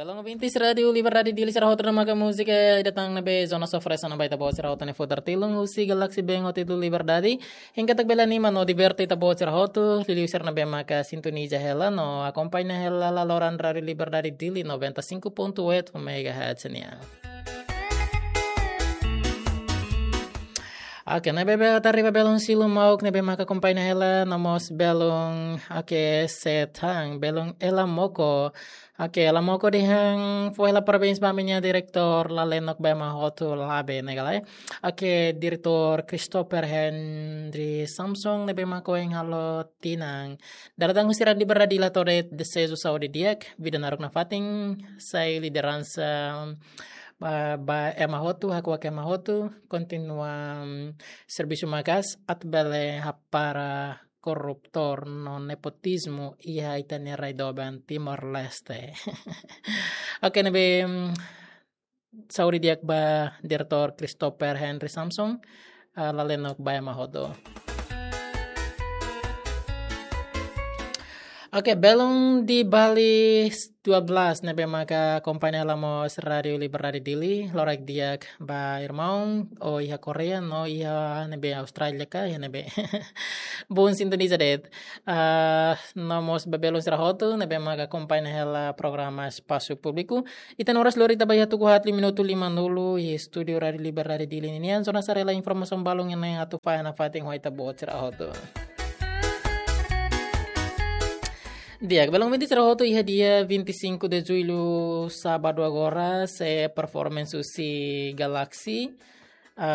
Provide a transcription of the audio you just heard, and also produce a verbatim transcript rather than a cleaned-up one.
Belun ouvintes Rádiu Liberdade Dili sira hotu, ne'e maka múzika ida tan ne'ebé Zona Sofresa no ba ita-boot sira hotu ne'e futar tilun husi Galaxy Band ho títulu Liberdade. Hein katak bele anima no diverte ita-boot sira hotu, liuliu sira ne'ebé maka sintoniza hela no akompaña hela laloran Rádiu Liberdade Dili noventa e cinco ponto oito megahertz nian. Oke, ne'ebé be ita riba belun Silu Mauk ne'ebé maka akompaña hela, no mós belun, oke, Setang, belun Ela Moko. Oke, Ela Moko dehan fó hela parabéns ba ami-nia diretór Lalenok ba ema hotu, lae, ne'e ka lae. Oke, diretór Christopher Henry Samson ne'ebé maka ohin halo tinan. Dala ida husi Rádiu Liberdade Dili hato'o de'it deseju saúde di'ak, vida naruk nafatin, sai lideransa ba, ba ema hotu, hakuak ema hotu, kontinua, mm, servisu maka'as, atu bele hapara korruptor no nepotizmu iha ita-nia rai doben Timor-Leste. Oke, ne'ebé, mm, saúde di'ak ba diretór Christopher Henry Samson, ah, Lalenok ba ema hotu. Oke, belun di Bali dua belas ne'ebé maka akompaña hela mós Rádiu Liberdade Dili, loraik di'ak ba irmaun, ó iha Koreia, no iha ne'ebé Austrália ka, iha ne'ebé. Bom sintoniza de'it. Ah, no mós ba belun sira hotu ne'ebé maka akompaña hela programa Espasu Públiku. Ita-nia oras lori ita ba iha tuku haat liu minutu lima nulu, iha estúdiu Rádiu Liberdade Dili ninian, zona sarela informasaun balun ne'e atu fahe nafatin ho ita-boot sira hotu. Di'ak, belun ouvintes sira hotu, iha dia vinte e cinco de julho, sábadu agora, sei performance husi Galaxy.